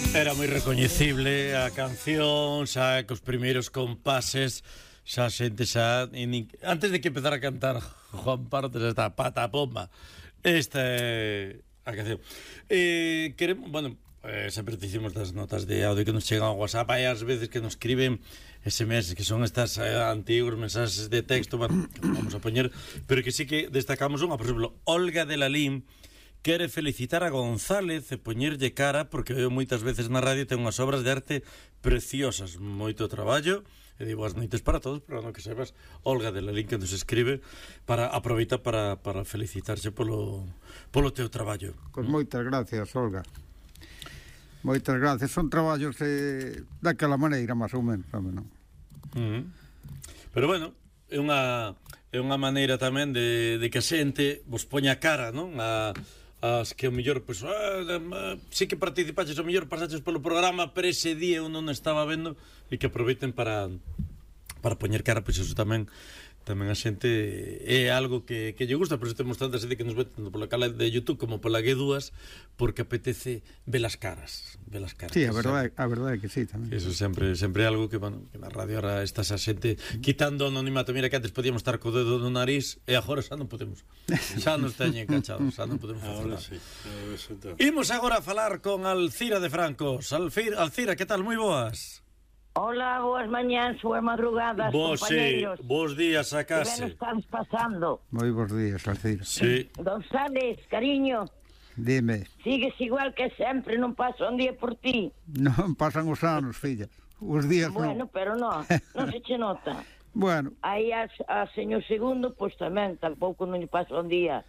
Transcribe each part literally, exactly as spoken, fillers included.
Era moi recoñecible a canción, xa cos primeiros compases, xa xente xa... Antes de que empezara a cantar Juan Pardo, xa está pata a pomba. Esta é a canción. Eh, queremos, bueno, eh, sempre dicimos das notas de audio que nos chegan ao WhatsApp, hai as veces que nos escriben S M S, que son estas eh, antigos mensaxes de texto, bueno, que vamos a poñer, pero que sí que destacamos unha, por exemplo, Olga de Lalín, quere felicitar a González e poñerlle cara porque eu moitas veces na radio ten unhas obras de arte preciosas, moito traballo, e digo as noites para todos, pero non que sepas, Olga de Lalín que nos escribe para aproveita para, para felicitarse polo, polo teu traballo. Pois moitas gracias, Olga. Moitas gracias, son traballos eh, daquela maneira, máis ou menos, non? Uh-huh. Pero bueno, é unha é unha maneira tamén de, de que a xente vos poña cara, non? A as que o mellor, pois, pues, ah, sí que participaches, o mellor pasaches polo programa, pero ese día eu non estaba vendo, e que aproveiten para para poñer cara, pois pues, eso tamén tamén a xente é algo que, que lle gusta, por eso temos tanta xente que nos ve tanto pola cala de YouTube como pola G dúas, porque apetece ver as caras, ver as caras. Sí, a verdade, a verdade é que sí, tamén. Eso sempre sempre é algo que, bueno, que na radio ahora está esa xente quitando o anonimato. Mira que antes podíamos estar co dedo no nariz e agora xa non podemos. Xa nos teñen encachados, xa non podemos facer nada. Sí. Imos agora a falar con Alcira de Francos. Alcira, Alcira, que tal? Moi boas. Hola, boas mañáns, boas madrugadas, Vos, compañeros. Sí, bons días a Que ben case. estamos pasando. Moi bons días, Alcira. Sí. González, cariño, Dime. sigues igual que sempre, non pasa un día por ti. Non pasan os anos, filla. Os días Bueno, non. pero non, non se che nota. Bueno, Aí a, a señor segundo, pois tamén, tampouco non lle pasa un día.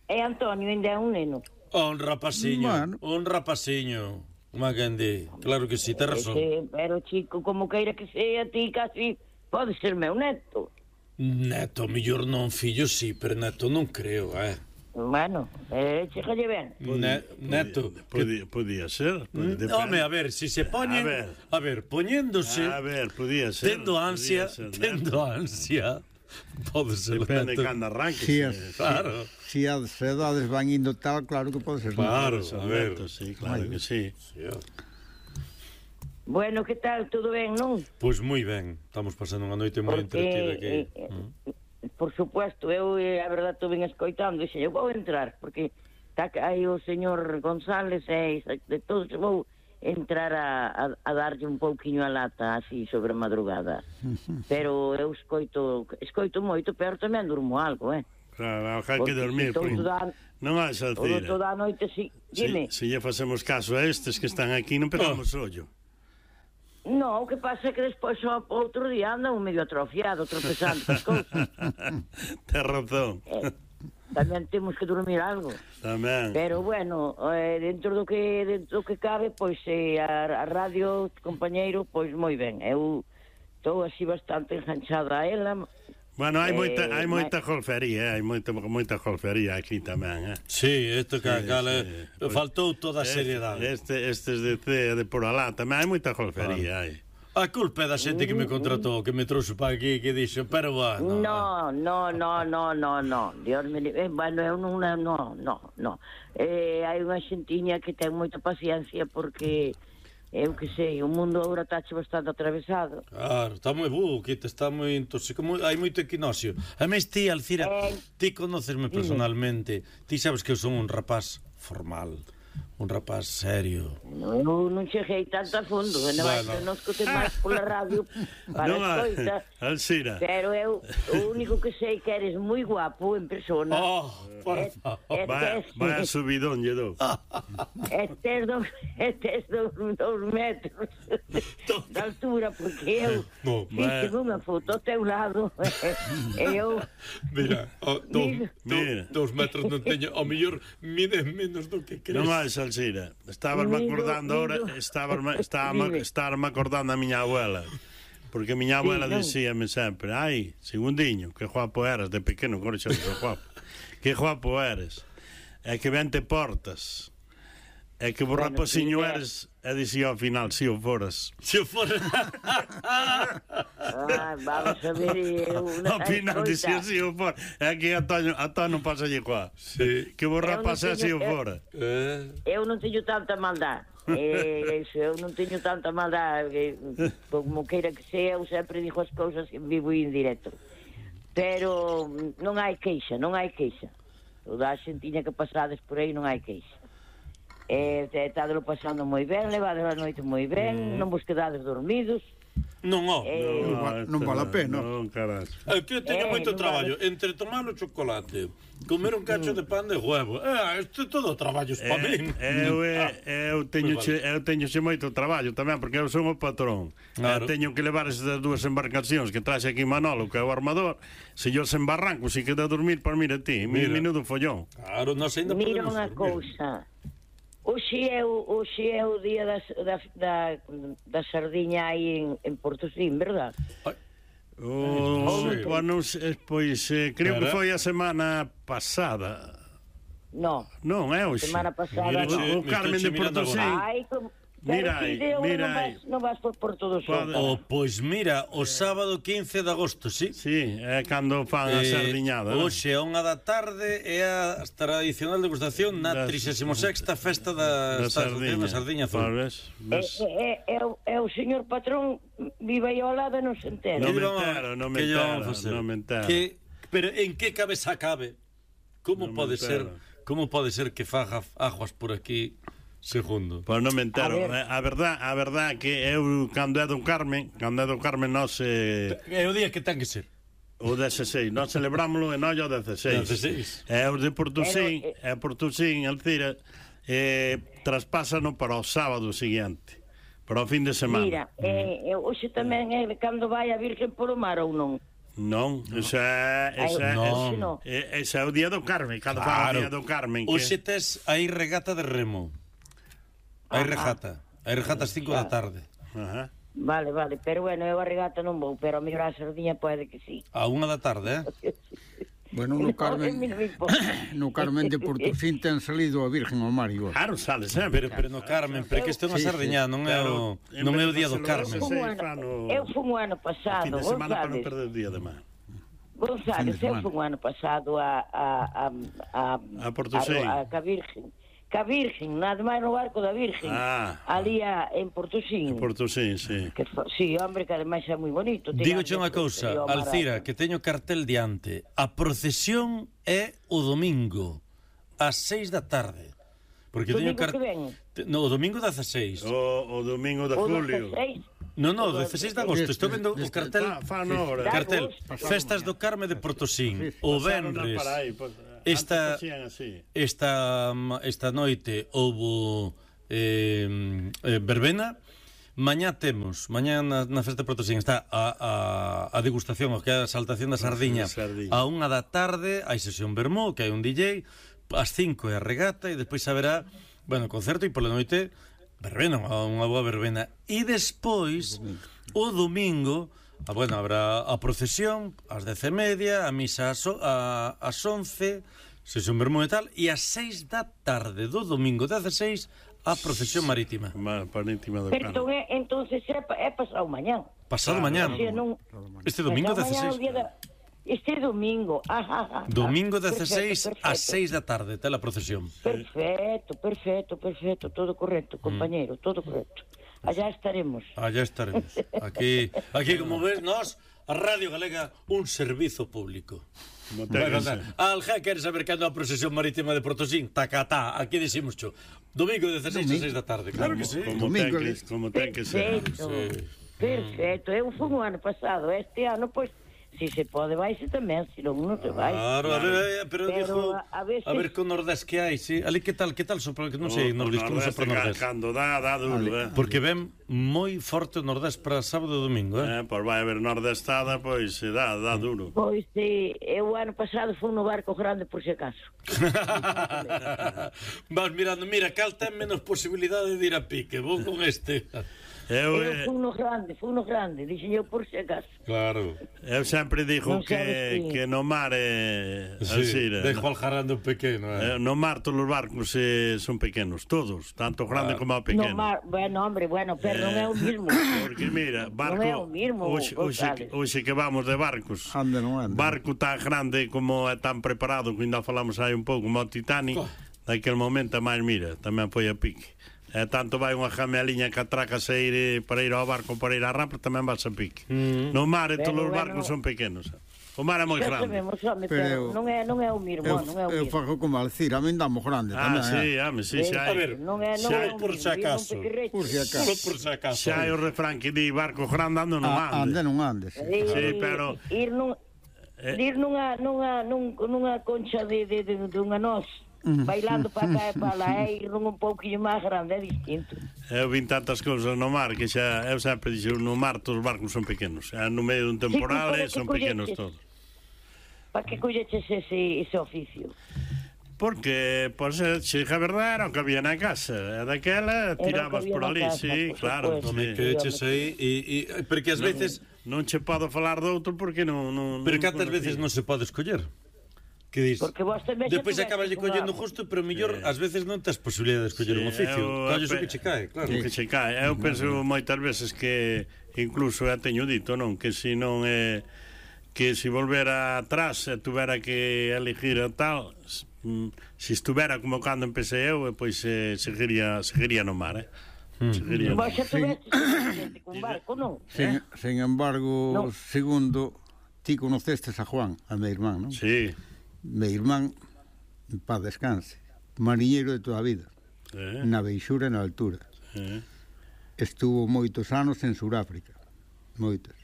E Antonio ainda é un neno. Un rapaciño, Bueno. un rapaciño. Má quen di, claro que si, sí, te razón. Ese, pero chico, como queira que sea, ti casi pode ser meu neto. Neto, mellor non fillo, sí, pero neto non creo, eh. Bueno, eh, chegalle ben. Ne, neto. Podía, podía ser. Que... Home, a ver, si se poñen... A ver, a ver poñéndose... A ver, podía ser. Tendo ansia, ser, tendo ansia... Pode ser. Depende de cando arranque. Si as, claro. Si as edades van indo tal, claro que pode ser. Claro, a ver. Neto, sí, claro Ay, que sí. sí. Bueno, que tal? Todo ben, non? Pois moi ben. Estamos pasando unha noite moi entretida aquí. Eh, mm. Por supuesto, eu, eh, a verdade, estou ben escoitando, e eu vou entrar, porque está aí o señor González e de todos vou entrar a, a, a darlle un pouquiño a lata así sobre a madrugada. Pero eu escoito escoito moito, pero tamén durmo algo, eh? Claro, hai que dormir. Da, non hai Alcira. Toda a noite, si, dime. Se, se lle facemos caso a estes que están aquí, non pegamos oh. ollo. No, o que pasa é que despois o outro día anda un medio atrofiado, tropezando as cousas. Ten razón. Eh, tamén temos que dormir algo. Tamén. Pero bueno, eh, dentro do que dentro do que cabe, pois eh, a, a radio, compañeiro, pois moi ben. Eu estou así bastante enganchada a ela. Bueno, hai moita eh, hai moita golfería, hai moita moita golfería aquí tamén, eh. Sí, isto que sí, cale, sí. faltou toda a seriedade. Este estes de C de por alá tamén hai moita golfería, hai. A culpa é da xente que me contratou, que me trouxe para aquí, que dixo, pero bueno... No, no, no, no, no, no. Dios me... Eh, bueno, eu non... No, no, no. Eh, hai unha xentiña que ten moita paciencia porque... Eu que sei, o mundo agora tache bastante atravesado. Claro, está moi bu, que está moi intoxicado, hai moito equinoccio. A mes ti, Alcira, eh, ti conócesme personalmente, ti sabes que eu son un rapaz formal, un rapaz serio. Non, non cheguei tanto a fondo, non bueno. Non escote máis pola radio para no, escoita. Alcira. Pero eu, o único que sei que eres moi guapo en persona. Oh, por favor. Vai, vai a subidón, lle dou. Estes dos, estes dos, dos metros de altura, porque eu no, fixe unha foto ao teu lado e eu... Mira, oh, dos, mira. dos metros non teño, ao mellor mide menos do que crees. Non máis, Alcira, estabas me acordando ahora, estabas estaba estar me acordando a miña abuela. Porque a miña abuela sí, dicíame sempre, ai, segundiño, que guapo eras de pequeno, agora xa non guapo. Que guapo eres. É que ben te portas. É que bo rapaciño eres. E dicía ao final, si o foras. Si o foras. Ah, vamos a ver. Ao final dicía si o foras. É que a Toño, a Toño pasa lle coa. Sí. Que bo rapaz é si o fora. Eu non teño tanta maldade. Eh, eso, eu non teño tanta maldade, como queira que sea, eu sempre digo as cousas en vivo e en directo. Pero non hai queixa, non hai queixa. O da xentiña que pasades por aí non hai queixa. Eh, estádelo pasando moi ben, levades a noite moi ben, mm. non vos quedades dormidos. Non, ó. Eh, Non, va, non vale a pena. Non, caras. Eu tío, teño Eh, moito non traballo vale. entre tomar o chocolate, comer un cacho de pan de huevo. Eh, isto é todo traballos para min. Eu, Ah, eu, teño pois che, eu teño xe moito traballo tamén, porque eu son o patrón. Claro. Eu teño que levar esas dúas embarcacións que traxe aquí Manolo, que é o armador. Se yo sen barranco, se queda a dormir, para mira ti, Mira. mi minuto follón. Claro, nós ainda Mira podemos unha dormir. cousa. Hoxe é o, hoxe é o día das, da, da, da sardiña aí en, en Portosín, verdad? Ai, O, Sí. pois, non sei, pois eh, creo que Cara. foi a semana pasada. No, Non, é hoxe. semana pasada Mira, no. che, O me Carmen estou de che mirando Portosín. agora. Ai, como... Mira Pero aí, ti de mira non aí. vas, non vas por, por todo Pode- só. O, pois mira, o sábado quince de agosto, sí? Sí, é cando fan a sardiñada. non? Hoxe a unha da tarde é a tradicional degustación na Das- trixésima sexta festa da, Da sardiña, sardiña. da sardiña azul. Pois, É, ves? é, é, o- é o señor patrón vive aí ao lado e non se entera. Non Que me lle vamos- entero, non me que lle vamos entero, facer? non me entero. Que- pero en que cabeza cabe? Como Non me pode ser? entero. Como pode ser que faga aguas por aquí segundo? Pois non me entero. A ver. Eh, A verdad, a verdad que eu cando é do Carmen, cando é do Carmen nós eh, É o día que ten que ser. o dezasseis, nós celebrámoslo en ollo o dezasseis. dezasseis. É os de Portosín, Pero, é Portosín, Alcira, eh, traspásano para o sábado seguinte, para o fin de semana. Mira, eh, eh, hoxe tamén é cando vai a Virgen por o mar ou non? Non, ese é, ese é, Ai, non. hoxe non. ese- ese é o día do Carmen, cando fan o día do Carmen. que- Hoxe tes aí regata de remo. Hai Ajá. regata. Hai regata ás cinco da tarde. Ajá. Vale, vale, pero bueno, eu a regata non vou, pero a mellor a sardiña pode que sí. A unha da tarde, eh? Bueno, no No, a mí Carmen, non me importa. no Carmen de Portosín ten salido a Virgen ao mar igual. Claro, sale sempre. Pero, pero no Carmen, pero que isto é unha Sí, sí. sardiña, non é o, Pero, non é o en vez día de do facelo Carmen. ese- Fun Sí, ano- fan o- Eu fun o ano Fin pasado, de semana para non González. perder o día de mar. González, Fin de eu semana. fun o ano pasado a a a a, A Portosín. a, a, a Virgen. Ca Virgen, nada máis no barco da Virgen. Ah. Ali a, en Portosín. Portosín, sí. Que fa- sí, hombre, que ademais é moi bonito. Ten Digo unha ambiente cousa, frío, Alcira, barato. que teño cartel diante. A procesión é o domingo, ás seis da tarde. Porque teño Domingo que ven? Te- No, o domingo dezasseis. O, o domingo de O julio. dezasseis. No, no, dezasseis de agosto. Estou vendo o cartel. Fa, fan hora. Cartel, Agosto. Festas do Carme de Portosín. O Pasaron a venres. para aí, pues, Esta- antes facían así. Esta, esta noite houbo eh, eh, verbena. Mañá temos, mañá na, na festa de Portosín está a, a, a degustación, o que é a saltación da sardiña, sardiña. a unha da tarde, hai sesión vermú, que hai un D J, ás cinco é a regata, e despois haberá, bueno, concerto, e pola noite verbena, unha boa verbena. E despois, o domingo, ah, bueno, habrá a procesión ás dez e media, a misa ás, o- a, ás once, sesión vermú e tal, e ás seis da tarde do domingo dezasseis a procesión marítima. Ma- Para íntima do Pero entón, Carmen. é, entonces é, pa- é pasado mañán. Pasado Claro. mañá. O sea, non, Este domingo pasado mañán é o dezasseis. día da- Este domingo. Ajá, ajá, Domingo Perfecto, dezasseis perfecto. ás seis da tarde, está a procesión. Perfecto, perfecto, perfecto, todo correcto, compañero, todo correcto. Allá estaremos. Allá estaremos. Aquí, aquí como ves, nós, a Radio Galega, un servizo público. Como ten Bueno, que ser. Alja, queres saber cando a procesión marítima de Portosín? Tacatá, aquí decimos cho. Domingo dezasseis ás seis da tarde. Claro que sí. Como Domingo, ten que, eh. como ten que ser. Perfecto, Sí. perfecto. Eu fui o ano pasado, este ano, pois, si se pode, vaise tamén, se non, non se vai. Claro, a ver, eh, pero, Pero dijo, a- a veces- a ver con Nordés que hai, sí. Ali que tal, que tal sopra, que non sei, O- o Nordés, como Nordeste sopra ca- Nordés. Cando dá, dá duro, eh. Porque ven moi forte o Nordés para sábado e domingo, eh? Eh, pois vai haber nordestada, pois se dá, dá duro. Pois, si, eu o ano pasado fui no barco grande, por si acaso. Vas mirando, mira, cal ten menos posibilidade de ir a pique, vou con este. Eu, Eu eh, fui no grande, fui no grande, dixen eu por si acaso. Claro. eu sempre digo Non que, sabes ti. que no mar é Sí, así, dejo al jarando pequeno, eh. eh, no mar todos os barcos eh, son pequenos, todos, tanto grande como o pequeno. No mar, bueno, hombre, bueno, pero non é o mismo. Porque mira, barco Non é o mismo, hoxe, hoxe, González. hoxe que vamos de barcos. Ande, non ande. Barco tan grande como é tan preparado, que ainda falamos aí un pouco, como o Titanic, Co. daquel momento máis mira, tamén foi a pique. E tanto vai unha jameliña que atraca a ir para ir ao barco, para ir á rapa, tamén vas a pique. Mm. No mar, e todos os barcos son pequenos. O mar é moi grande. Sabemos, home, pero, pero non é non é o mesmo, non é o mesmo. Eu fago como Alcira, a min damos grande ah, tamén. Ah, sí, home, sí, xa hai. A ver, non é, non é por si acaso. Por si acaso. Por si acaso. Xa hai o refrán que di barco grande ando non ande. Ah, ande non ande, sí. Sí, pero ir nun ir nunha nunha nunha concha de de de unha noz. Bailando para cá e para lá, é ir un pouquinho máis grande, é distinto. Eu vin tantas cousas no mar que xa, eu sempre dixo, no mar todos os barcos son pequenos. No medio dun temporal sí, son pequenos todos. Para que colleches ese, ese oficio? Porque, pois, se a verdade era o que había na casa. E daquela tirabas por ali, casa, sí, por claro. Non me queches aí, e, e, porque ás veces... Non che podo falar de outro porque non... non pero cantas veces non se pode escoller? Que dis? Porque vos tamén depois acabas de collendo justo, pero mellor eh, ás veces non tes posibilidade de escoller sí, un oficio. Colles o que che cae, claro. O que che cae. Eu penso moitas veces que incluso já teño dito, non, que se non é que se volvera atrás e tuvera que elegir a tal, se estuvera como cando empecé eu, pois eh, seguiría seguiría no mar, eh. Seguiría. Vos xa tuveste con barco, non? Sin, sin embargo, no. Segundo, ti conocestes a Juan, a meu irmán, non? Sí. Meu irmán, en paz descanse, mariñeiro de toda a vida, eh. na beixura e na altura. Eh. Estuvo moitos anos en Suráfrica, moitos.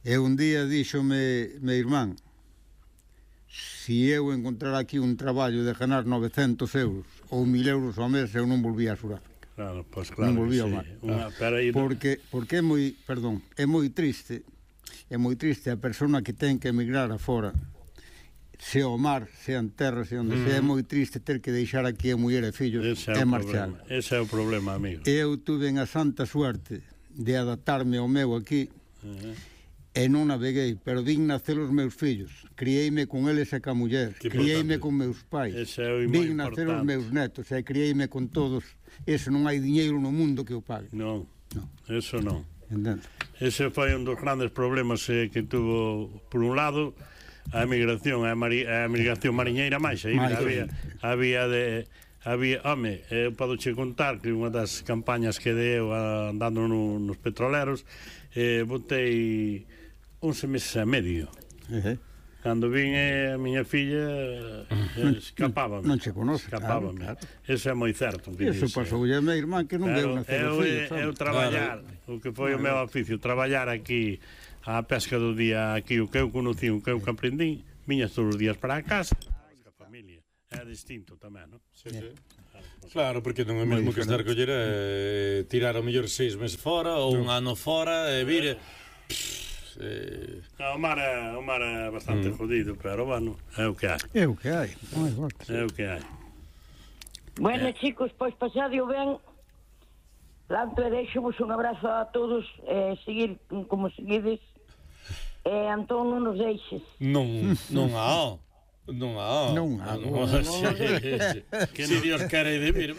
E un día díxome meu irmán, si eu encontrar aquí un traballo de ganar novecentos euros ou mil euros ao mes, eu non volvía a Suráfrica. Claro, pois pues claro. Non volvía ao sí. mar. Una, ir... Porque, porque é moi, perdón, é moi triste, é moi triste a persona que ten que emigrar afora, se ao mar, se en terra, se onde mm. se, é moi triste ter que deixar aquí a muller e fillos e marchar. Ese é o problema, amigo. Eu tuve a santa suerte de adaptarme ao meu aquí, uh -huh. e non naveguei, pero vin nacer os meus fillos, criei-me con eles e ca muller, criei-me con meus pais, vin nacer os meus netos e criei-me con todos. Eso non hai diñeiro no mundo que o pague. Non, no. Eso non. Entendo. Ese foi un dos grandes problemas eh, que tuvo, por un lado, a emigración, a, mari, a emigración mariñeira máis, aí había, había de... Había, home, eu podo che contar que unha das campañas que deu andando no, nos petroleros, eh, botei once meses e medio. Uh -huh. Cando vin eh, a miña filla eh, escapábame. Non che conoce, escapábame. Claro, claro. Eso é moi certo. Eso pasou a meu irmán que non deu na eu, eu traballar, claro. O que foi claro. O meu oficio, traballar aquí a pesca do día, aquí o que eu conocí, o que eu aprendí, viñas todos os días para a casa, a familia. É distinto tamén, non? Sí, sí. Claro, porque non é mesmo que estar coller e tirar ao mellor seis meses fora ou un ano fora e vir eh... no, o mar é, o mar é bastante mm. jodido, pero bueno, é o que hai. É o que hai. É o que hai. Bueno, eh. chicos, pois pasadio ben. Lanto e deixo-vos un abrazo a todos e eh, seguir como seguides. E eh, Antón non nos deixes. Non, non há. Non há. Non há. Si Dios quere de vir.